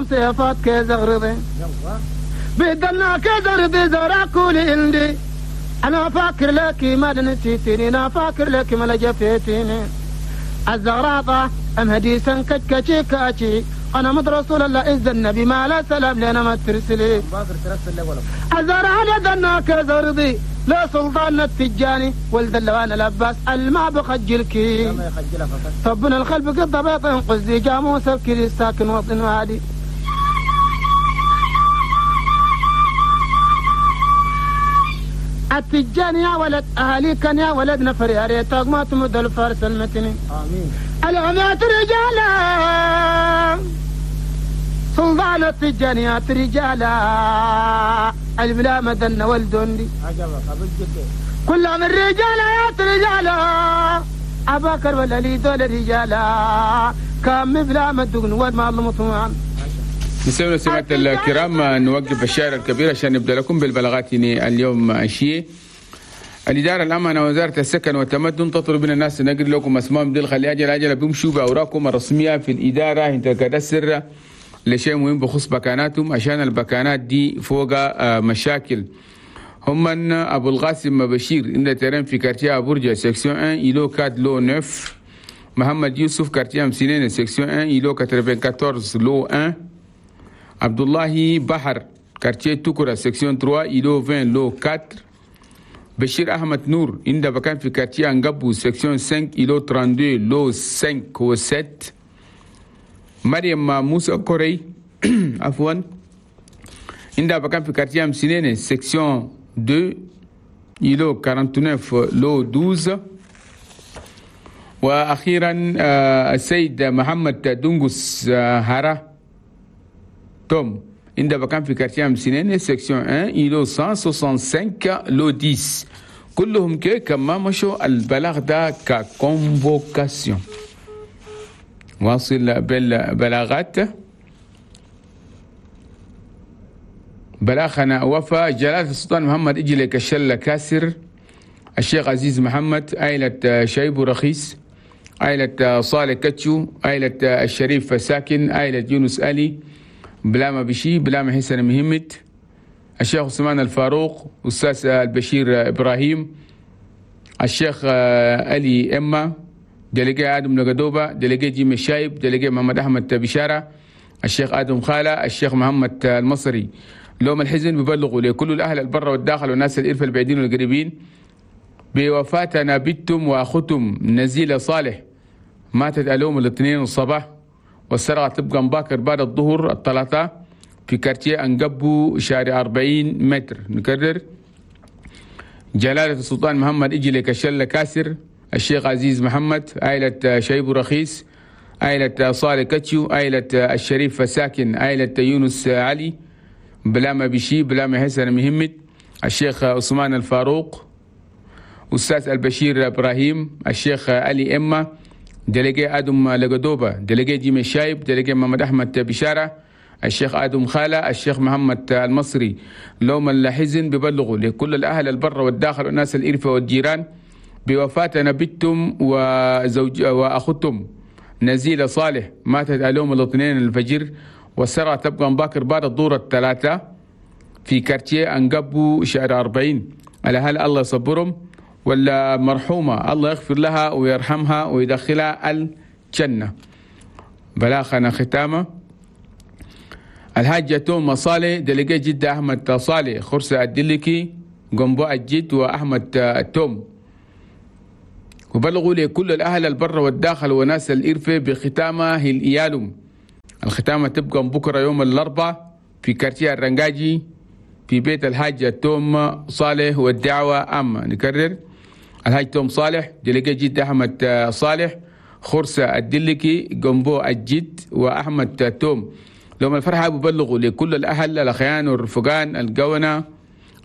سيفات كزغرضي بدلنا كزغرضي زرع كل عندي انا فاكر لك ما نسيتني انا فاكر لك ما لجفيتني الزغراطة ام هديسا كتكتي كاتي انا مد رسول الله إذ النبي ما لا سلام لنا ما ترسلي الزرع لدنا كزرضي لا سلطان التجاني ولد اللوان العباس الما بخجلك طبنا الخلف قد بيط قزي جاموس بكري ساكن وطن وادي التجاني يا ولد اهالي كان يا ولد نفر يا ريتك ما تمد الفارس المتني امين العمات رجالا سلطان التجانيات رجالا البلا مدن والدندي كلهم الرجالات رجالا أباكر ولا لي دول رجالا كام بلا مدن وما المطمعان. نسوي سماعة الكرام نوقف الشارع الكبير عشان نبدأ لكم بالبلاغات اليوم الشيء. الإدارة الأمانة وزارة السكن والتمدن تطلب من الناس نقل لكم أسمائهم دي خلي أجل أجل بيمشوا بأوراقهم الرسمية في الإدارة انت كدسر لشيء مهم بخصوص بكاناتهم عشان البكانات دي فوق مشاكل. هم من أبو القاسم بشير إن terrain في quartier برجة section 1 îlot 4 lot 9، محمد يوسف quartier مسنين section 1 îlot 94 lot 1، عبد الله بحر quartier توكرا section 3 îlot 20 lot 4، بشير أحمد نور إن بكان في quartier أنقبو section 5 îlot 32 lot 5 و 7، مريم موسى كوري عفوا عندها بكان في quartier مسنين section 2 îlot 49 lot 12، واخيرا السيد محمد دونغوس هارا توم عندها بكان في quartier مسنين section 1 îlot 165 lot 10. كلهم كي كما مشوا البلاغ ده ك convocation. واصل بالبلاغات. بلاغنا وفا جلالة السلطان محمد إجلك الشلة كاسر، الشيخ عزيز محمد، عائلة شايب رخيص، عائلة صالح كتشو، عائلة الشريف ساكن، عائلة يونس ألي، بلاما بشي، بلاما حسن مهمت، الشيخ عثمان الفاروق، أستاذ البشير إبراهيم، الشيخ ألي إما، délégué آدم لقدوبة، délégué جيم الشايب، délégué محمد أحمد بشارة، الشيخ آدم خالة، الشيخ محمد المصري. لوم الحزن ببلغوا لكل الأهل البر والداخل والناس الإرفة البعيدين والقريبين بوفاة بنتهم وأختهم نزيلة صالح، ماتت اليوم الاثنين الصباح، والسرعة تبقى مباكر بعد الظهر الثلاثاء في quartier أنقبو شارع 40 متر. نكرر، جلالة السلطان محمد إجلك الشلة كاسر، الشيخ عزيز محمد، عائلة شايب رخيص، عائلة صالح كتشو، عائلة الشريف ساكن، عائلة يونس علي، بلاما بشي، بلاما حسن مهمت، الشيخ عثمان الفاروق، أستاذ البشير إبراهيم، الشيخ علي إما، délégué آدم لقدوبة، délégué جيم الشايب، délégué محمد أحمد بشارة، الشيخ آدم خالة، الشيخ محمد المصري. لوم الحزن ببلغوا لكل الأهل البر والداخل والناس الإرفة والجيران بوفاة بنتهم وزوج وأختهم نزيلة صالح، ماتت اليوم الاثنين الفجر، والسرعة تبقى مباكر بعد الظهر الثلاثة في quartier أنقبو شارع 40. الأهل الله يصبرهم، ولا مرحومة الله يغفر لها ويرحمها ويدخلها الجنة. بلاغنا ختامة الحاجة توم صالح، délégué جدة أحمد صالح، خرسة الدلكي، قنبو الجد، وأحمد توم. وبلغوا لكل الأهل البر والداخل وناس الإرفة بختامة الإيالم. الختامة تبقى بكرة يوم الأربعاء في quartier الرنجاجي في بيت الحاج توم صالح، والدعوة أما. نكرر، الحاج توم صالح، délégué جد أحمد صالح، خرسة الدلكي، قنبو الجد، وأحمد توم. لهم الفرحة ببلغوا لكل الأهل الأخيان والرفقان القونة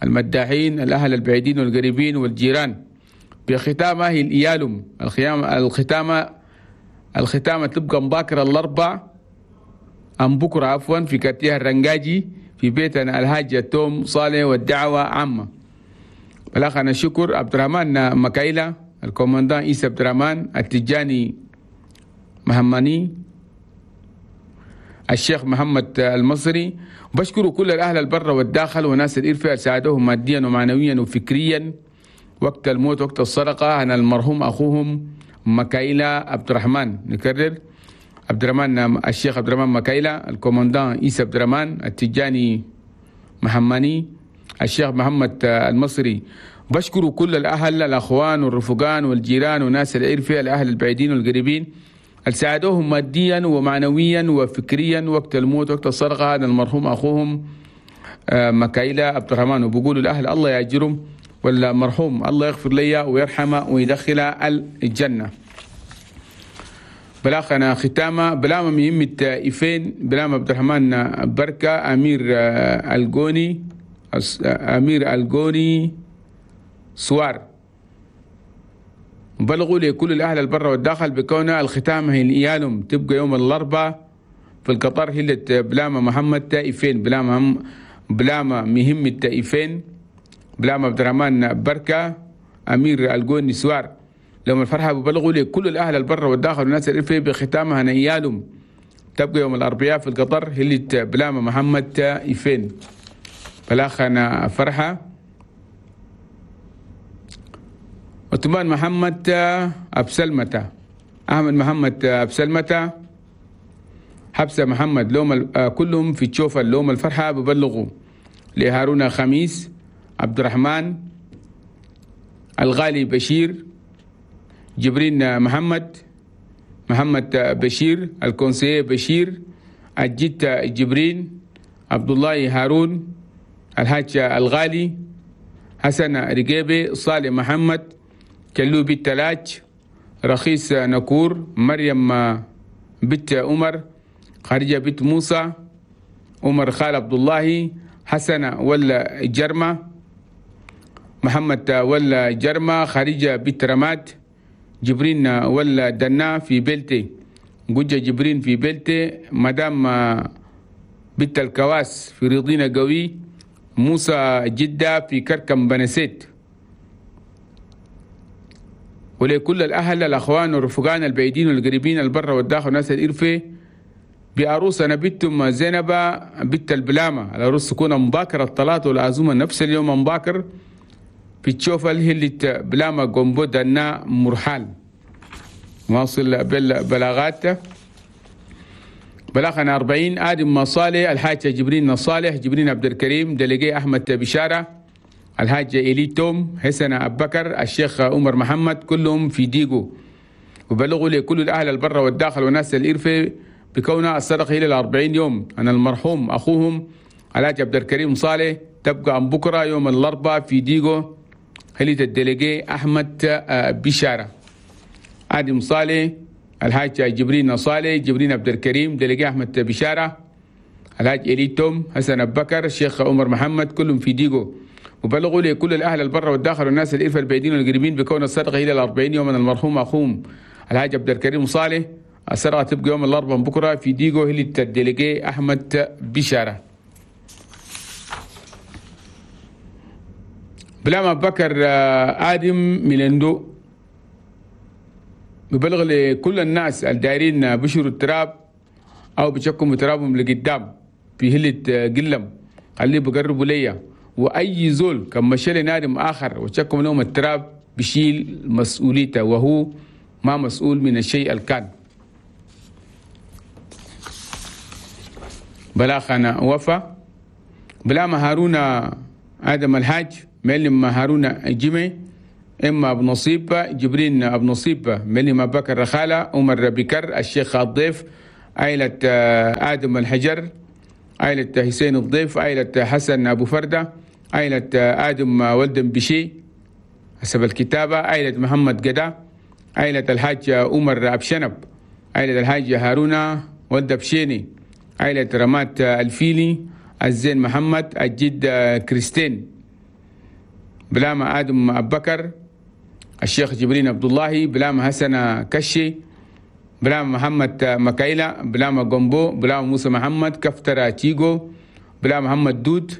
المداحين الأهل البعيدين والقريبين والجيران بختامه الإيالم. الختامة تبقى مباكرة الأربع أم بكرة عفوا في كارتيه الرنجاجي في بيتنا الحاج توم صالح، والدعوة عامة. بلاغنا الشكر عبد الرحمن مكايلة، الكومندان عيسى عبد الرحمن، التجاني مهماني، الشيخ محمد المصري. بشكروا كل الأهل البر والداخل وناس الإرفع ساعدوهم ماديا ومعنويا وفكريا وقت الموت وقت السرقة. أنا المرحوم أخوهم مكايلة عبد الرحمن، نكرر عبد الرحمن الشيخ عبد الرحمن مكايلة، الكومندان عيسى عبد الرحمن التجاني محماني، الشيخ محمد المصري. بشكروا كل الأهل الأخوان والرفقان والجيران وناس العرفة الأهل البعيدين والقريبين اللي ساعدوهم ماديا ومعنويا وفكريا وقت الموت وقت السرقة. هذا المرحوم أخوهم مكايلة عبد الرحمن. وبقولوا الأهل الله يأجرهم والمرحوم الله يغفر لي ويرحمه ويدخله الجنة. بلاغنا ختامة بلاما مهمة إفين بلاما عبد الرحمن بركة أمير الجوني أمير الجوني سوار. بلغوا لكل الأهل البر والداخل بكون الختام هي الإيالهم تبقى يوم الأربعاء في القطر هلة بلاما محمد تائفين بلاما مهمة تائفين بلاما عبد الرحمن بركة أمير الجوني سوار. لهم الفرحة ببلغوا لكل الأهل البر والداخل والناس الرفي بختامها نيالهم تبقى يوم الأربعاء في القطر هلة بلاما محمد تائفين. بلاخنا فرحة. عثمان محمد أبسلمة، أحمد محمد أبسلمة، حبسة محمد لوم كلهم في تشوف اللوم الفرحة ببلغوا لهارون خميس عبد الرحمن الغالي بشير جبرين محمد محمد بشير الكونسيه بشير الجيت جبرين عبد الله هارون الحاج الغالي حسن رقيبي صالح محمد كلوبي التلاج رخيص نكور مريم بنت عمر خارجة بنت موسى عمر خال عبد الله حسن ولا جرمة محمد ولا جرمة خارجة بنت رماد جبرين ولا دنا في بلتي جوجة جبرين في بلتي مدام بنت الكواس في رضينا قوي موسى جدة في كركم بنسيت. ولكل الأهل الأخوان والرفقان البعيدين والقريبين البر والداخل والناس الإرفة بعروسنا بنتم زينب بنت البلامة. العروس تكون مباكر الطلاق والعزومة نفس اليوم مباكر في تشوف الهلة بلامة قنبو دنا مرحال. واصل بالبلاغات. بلاغنا 40 آدم مصالح الحاج جبرين صالح جبرين عبد الكريم دلقي أحمد بشارة الحاج إلي توم حسن أبو بكر الشيخ عمر محمد كلهم في ديغو. وبلغوا لكل الأهل البر والداخل والناس الإرفة بكون الصدقة إلى 40 يوم. أنا المرحوم أخوهم الحاج عبد الكريم صالح تبقى عن بكرة يوم الأربعاء في ديغو هلية الدلقي أحمد بشارة آدم صالح الحاج جبرين صالح جبرين عبد الكريم دلقي أحمد بشارة الحاج إلي توم حسن أبو بكر الشيخ عمر محمد كلهم في ديغو. وبلغوا لكل الأهل البر والداخل والناس الإرفة البعيدين والقريبين بكون الصدقة إلى 40 يوم من المرحوم أخوهم الحاج عبد الكريم صالح. السرقة تبقى يوم الأربعاء بكرة في ديغو هلي الدلقي أحمد بشارة. بلاما بكر آدم ميلندو ببلغ لكل الناس الدايرين بشروا التراب أو بشكوا ترابهم لقدام في هلة قلم خليه بقربوا ليا. وأي زول كان مشى لنادم آخر وشكوا لهم التراب بشيل مسؤوليته وهو ما مسؤول من الشيء الكان. بلاغنا وفا بلا هارون آدم الحاج معلم هارون جيمي إما أبو نصيب جبرين أبو نصيب معلم بكر رخالة عمر بكر الشيخ الضيف عائلة آدم الحجر عائلة حسين الضيف عائلة حسن أبو فردة عائلة آدم ولدن بشي حسب الكتابة عائلة محمد قدا عائلة الحاج عمر أبشنب عائلة الحاج هارون ولد بشيني عائلة رمات الفيلي الزين محمد الجد كريستين بلاما آدم أبو بكر الشيخ جبرين عبد الله بلاما حسن كشي بلاما محمد مكايلة بلاما جومبو بلاما موسى محمد كفترة تيجو بلاما محمد دود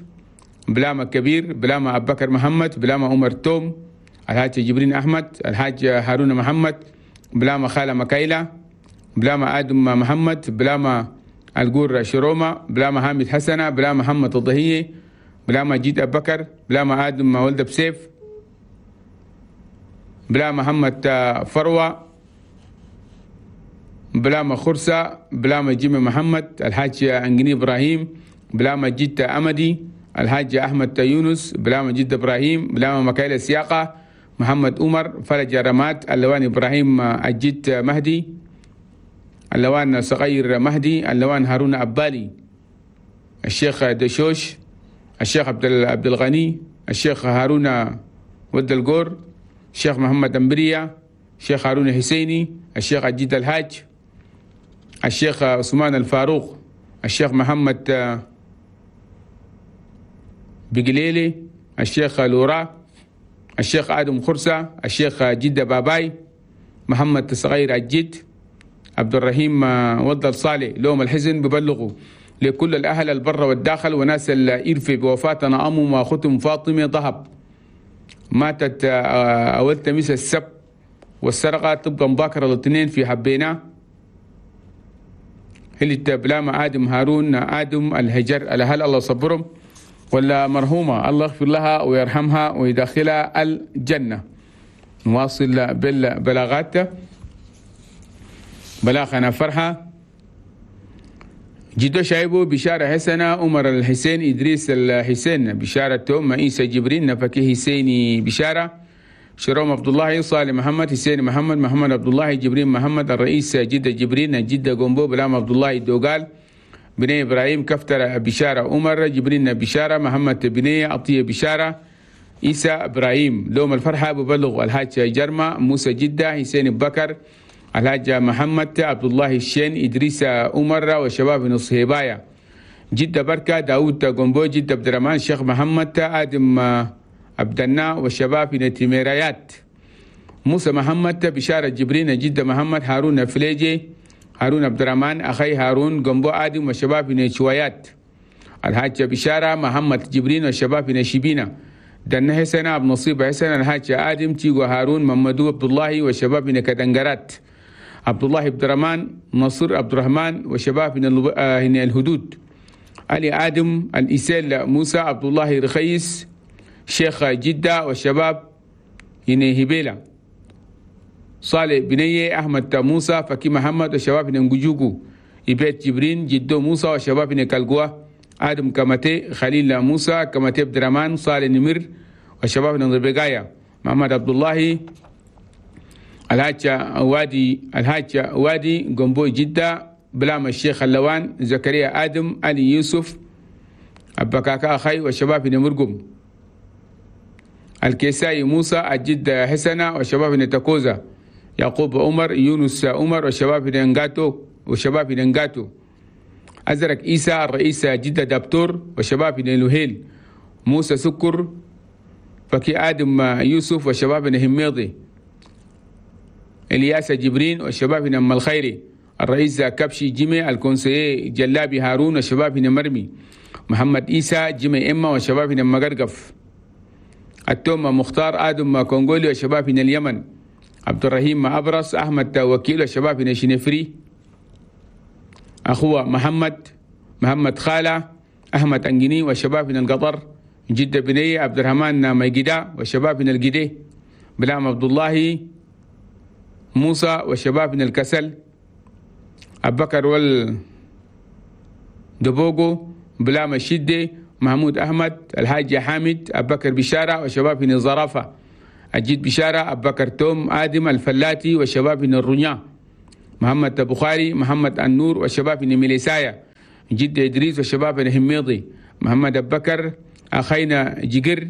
بلاما كبير بلاما أبو بكر محمد بلاما عمر توم الحاج جبرين أحمد الحاج هارون محمد بلاما خالة مكايلة بلاما آدم محمد بلاما الجور شرومة بلا محمد حسنة بلا محمد الضهية بلا مجيد أبو بكر بلا ما آدم ولد بسيف بلا محمد فروة بلا ما خرسة بلا ما جيمي محمد الحاج أنجني إبراهيم بلا ما جيت أمدي الحاج أحمد يونس بلا ما جد إبراهيم بلا ما مكايل السياقة محمد عمر فرج رمات اللوان إبراهيم الجد مهدي اللوان صغير مهدي اللوان هارون أبالي الشيخ دشوش الشيخ عبد الغني الشيخ هارون ود الجور الشيخ محمد أمبريا الشيخ هارون حسيني الشيخ عجيد الحاج الشيخ عثمان الفاروق الشيخ محمد بقليلي الشيخ لورا الشيخ آدم خرسة الشيخ جدة باباي محمد صغير الجد عبد الرحيم ود الصالح. لوم الحزن ببلغوا لكل الأهل البر والداخل وناس الإرفي بوفاتنا أم وأختهم فاطمة ذهب ماتت أول تميس السبت والسرقة تبقى مباكرة الاثنين في حبينا اللي بلاما آدم هارون آدم الهجر. الأهل الله صبرهم ولا مرحومة الله يغفر لها ويرحمها ويدخلها الجنة. نواصل بالبلاغات. بلاغنا فرحة جدو شايبو بشارة حسنة عمر الحسين إدريس الحسين بشارة توم عيسى جبرين نفكي حسيني بشارة شروم عبد الله صالح محمد حسين محمد محمد عبد الله جبرين محمد الرئيس جدة جبرين جدة قنبو بلام عبد الله دوغال بني إبراهيم كفتر بشارة عمر جبرين بشارة محمد بني عطية بشارة عيسى إبراهيم. لوم الفرحة ببلغ الحاج جرمة موسى جدة حسين بكر الحاج محمد عبد الله الشين إدريس عمر وشباب نصهبايا جدة بركة داود قنبو جدة عبد الرحمن الشيخ محمد آدم عبدنا وشباب نتميريات موسى محمد بشارة جبرين جدة محمد هارون فليجي هارون عبد الرحمن أخي هارون قنبو آدم وشباب نشويات الحاج بشارة محمد جبرين وشباب نشيبينا دنا حسن عبد نصيب حسن الحاج آدم تيغو هارون محمدو عبد الله وشباب كدنجرات عبد الله عبد الرحمن نصر عبد الرحمن وشباب من الهدود علي آدم الإسيل موسى عبد الله رخيص شيخ جدة وشباب هبيلة صالح بنية أحمد موسى فكي محمد وشباب نجوجو إبيت جبرين جدو موسى وشباب كالقوة آدم كمتي خليل موسى كمتي عبد الرحمن صالح نمر وشباب نربقايا محمد عبد الله الحاج وادي الحاج وادي قنبوي جدة بلام الشيخ اللوان زكريا آدم علي يوسف أبكاكا أخي وشباب نمرقم الكيساي موسى الجد حسنة وشباب نتكوزا يعقوب عمر يونس عمر وشباب نغاتو وشباب نغاتو أزرق إيسى الرئيس جدة دبتور وشباب نلوهيل موسى سكر فكي آدم يوسف وشباب نهميضي إلياس جبرين وشباب نم الخيري الرئيس كبشي جيمي الكونسي جلابي هارون وشباب نمرمي محمد إيسى جيمي إما وشباب نمغرقف التومة مختار آدم كونغولي وشباب من اليمن عبد الرحيم أبرص أحمد وكيل وشباب من شنفري أخوه محمد محمد خالة أحمد أنجني وشباب من القطر جدة بني عبد الرحمن ميجدا وشباب من الجدي بلام عبد الله موسى وشباب من الكسل أبو بكر وال دبوغو بلام الشدة محمود أحمد الحاج حامد أبو بكر بشارة وشباب من الزرافة أجيد بشارة أبو بكر توم آدم الفلاتي وشباب من الرنيا محمد بخاري محمد النور وشباب من ميليسايا جد إدريس وشباب من هميضي محمد أبو بكر أخينا جقر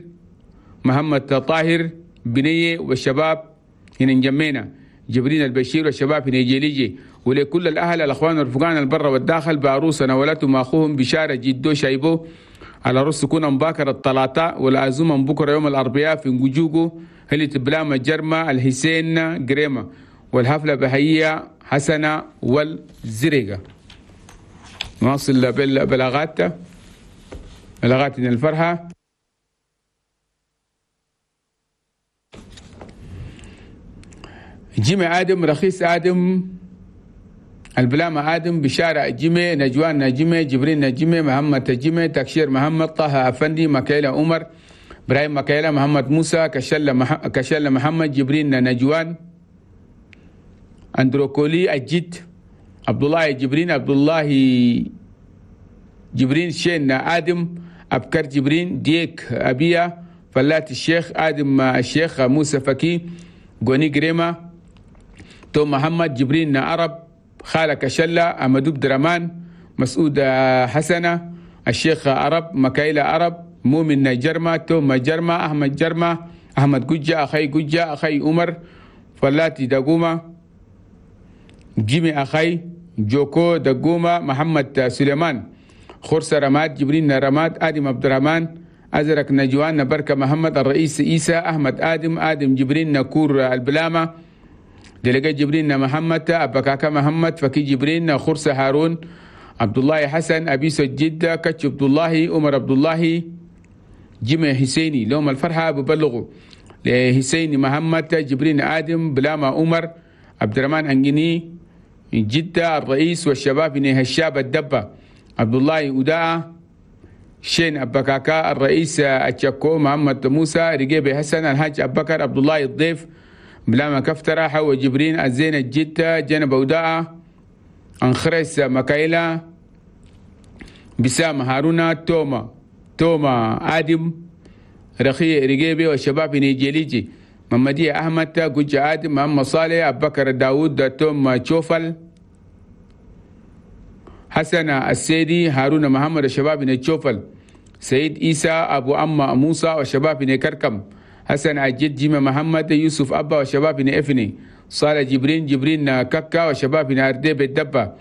محمد طاهر بنية والشباب هنا نجمينا جبرين البشير والشباب هنا جيليجي. ولكل الأهل الأخوان الرفقان البر والداخل بعروسنا ولتهم أخوهم بشارة جدو شايبو على رأس تكون مباكر الثلاثاء والعزومة بكرة يوم الأربعاء في نجوجو هلي تبلام الجرمة الحسين قريمة والحفلة بهية حسنة والزرقة. نواصل بالبلاغات بلاغات من الفرحة. جيمي آدم رخيص آدم البلامة آدم بشارة جيمي نجوان نجمي جبرين نجمي محمد تجمي تكشير محمد طه أفندي مكايلة عمر إبراهيم مكايلة محمد موسى كشلة محمد جبرين نجوان أندروكولي الجد عبد الله جبرين عبد الله جبرين شين آدم أبكر جبرين ديك أبيا فلات الشيخ آدم الشيخ موسى فكي غوني جريمة تو محمد جبرين عرب خالة كشلة أمدوب درمان مسعود حسنة الشيخ عرب مكايلة عرب مؤمن جرمة توما جرمة أحمد جرمة أحمد جوجة أخي جوجة أخي عمر فلاتي دقومة جيمي أخي جوكو دقومة محمد سليمان خرسة رماد جبرين رماد آدم عبد الرحمن أزرق نجوان بركة محمد الرئيس إيسى أحمد آدم آدم جبرين نكور البلامة دلقة جبرين محمد أبكاكا محمد فكي جبرين خرسة هارون عبد الله حسن أبي سجدة كتش عبد الله عمر عبد الله جمع حسيني لهم الفرحة ببلغوا لحسيني محمد جبرين آدم بلامة عمر عبد الرحمن أنجني جدة الرئيس والشباب هشاب الدبة عبد الله أوداء شين أبكاكا الرئيس أتشكو محمد موسى رقيب حسن الحاج أبكر عبد الله الضيف بلاما كفترة حو جبرين الزين الجدة جنب أوداء أنخرس مكايلة بسام هارونا توما آدم رخي رقيبي والشباب نيجيليجي محمدية أحمد جوج آدم محمد صالح أبكر داود توم تشوفل حسن السيدي هارون محمد الشباب نتشوفل سيد إيسى أبو أما موسى والشباب نكركم حسن الجد جيمة محمد يوسف أبا والشباب نفني صالح جبرين جبرين ككا والشباب ناردي بالدبة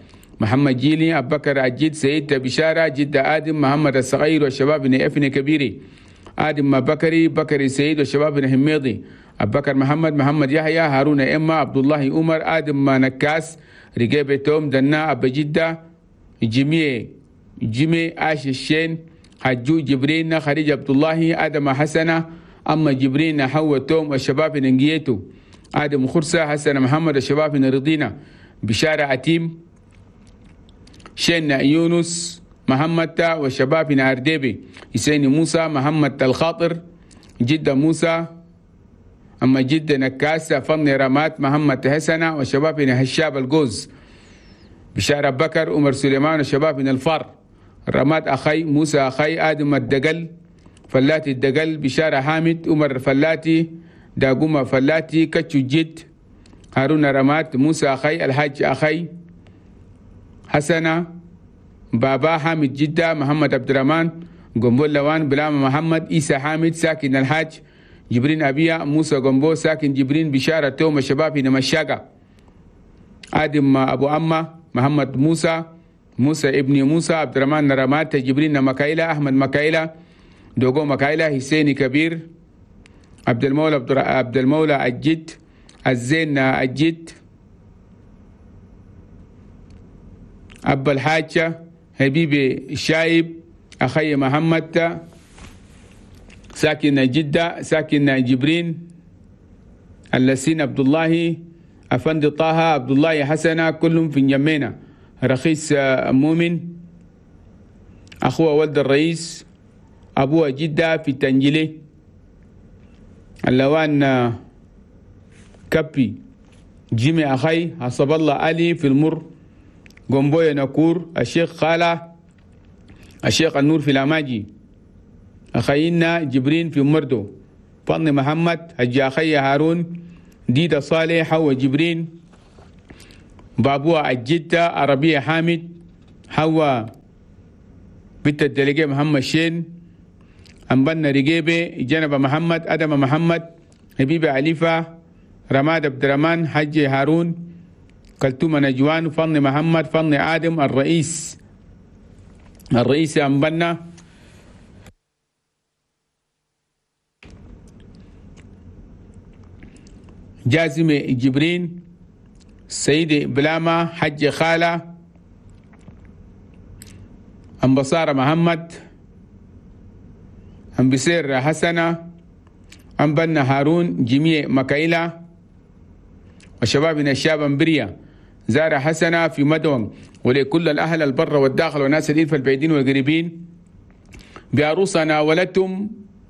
محمد جيلي أبو بكر الجد سيد بشارة جد آدم محمد الصغير والشباب نفني كبيري آدم بكري بكري سيد والشباب نحميضي أبو بكر محمد محمد يحيى هارون إما عبد الله عمر آدم نكاس رجيب توم دنا أبو جدة جميع آش الشين حجو جبرين خريج عبد الله آدم حسنة أما جبرين حو توم والشباب نجيتو آدم خرسة حسن محمد الشباب رضينا بشارة عتيم شين يونس محمد والشباب أرديبي حسين موسى محمد الخاطر جدة موسى أما جدة نكاسة فن رمات محمد حسنة والشباب هشاب الجوز بشارة بكر عمر سليمان والشباب من الفار رمات أخي موسى أخي آدم الدقل فلاتي الدقل بشارة حامد عمر فلاتي داقوما فلاتي كتشو جد هارون رمات موسى أخي الحاج أخي حسنة بابا حامد جدة محمد عبد الرحمن قنبول لوان بلام محمد إيسى حامد ساكن الحاج جبرين أبيا موسى قنبو ساكن جبرين بشارة توم الشباب هنا مشاقة آدم أبو أما محمد موسى موسى ابن موسى عبد الرحمن رمات جبرين مكايلة أحمد مكايلة دوغو مكايلة حسين كبير عبد المولى عبد المولى الجد الزين الجد أبا الحاجة حبيبي الشايب أخي محمد ساكن جدة ساكن جبرين اللسين عبد الله أفندي طه عبد الله حسنة كلهم في جمينة رخيص مؤمن أخوه ولد الرئيس أبوه جدة في تنجلي اللوان كبي جيمي أخي حسب الله علي في المر قنبوية نكور الشيخ خالة الشيخ النور في الأماجي أخينا جبرين في مردو فضل محمد حجي أخي هارون ديدا صالح حوا جبرين بابوها الجدة عربية حامد حوا بنت الدلقية محمد شين أنبنا رقيبة جنب محمد أدم محمد حبيبة عليفة رماد عبد الرحمن حجي هارون كلتومة نجوان فضل محمد فضل آدم الرئيس أنبنا جازم جبرين سيد بلاما حج خالة أنبصارة محمد أنبسير حسنة أنبنا هارون جميع مكايلة وشبابنا الشاب أنبريا زارة حسنة في مدون، ولكل الأهل البر والداخل والناس الإلف البعيدين والقريبين بعروسنا ولدتم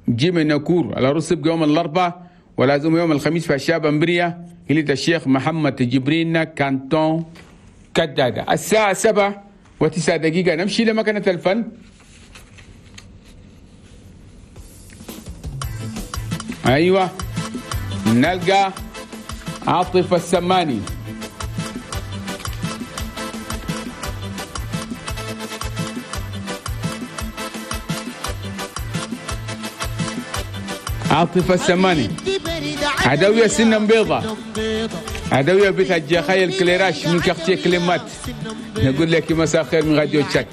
جيم نكور. العروس تبقى يوم الأربعاء ولازم يوم الخميس في الشاب أمبريا هلية الشيخ محمد جبرين كانتون كدادة. الساعة 7:09 نمشي لمكنة الفن. أيوة نلقى عاطف السماني. عاطف السماني عدوية سنة بيضة، عدوية بيت الجخايل كليراش من كختي كلمات. نقول لك مساء الخير من راديو تشاك.